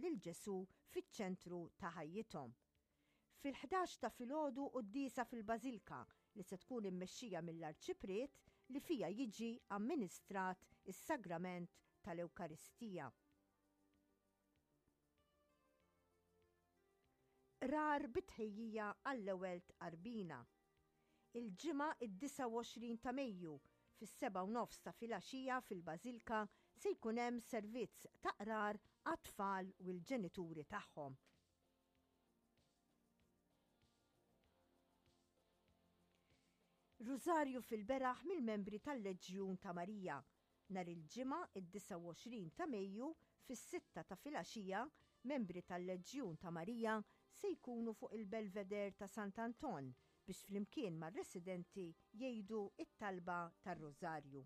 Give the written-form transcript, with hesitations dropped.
lil Ġesù fiċ-ċentru ta' ħajjithom. Fil-11 ta' filgħodu quddiesa fil-Bażilka li se tkun immexxija mill-Arċipriet li fiha jiġi amministrat is-Sagrament tal-Ewkaristija. Qrar bi tħejjija għall-ewwel tqarbina. Il-Ġimgħa id-29 ta' Mejju fis-sebgħa u nofs ta' filgħaxija fil-Bażilka se jkun hemm servizz ta' qrar għat-tfal u l-ġenituri tagħhom. Rużarju fil-beraħ mill-membri tal-Leġjun ta' Marija Nhar il-Ġimgħa, id-29 ta' Mejju, fis-sitta ta' filgħaxija, membri tal-Leġjun ta' Marija se jkunu fuq il-Belvedere ta' Sant'Anton biex flimkien mar-residenti jgħidu t-talba tar-Rużarju.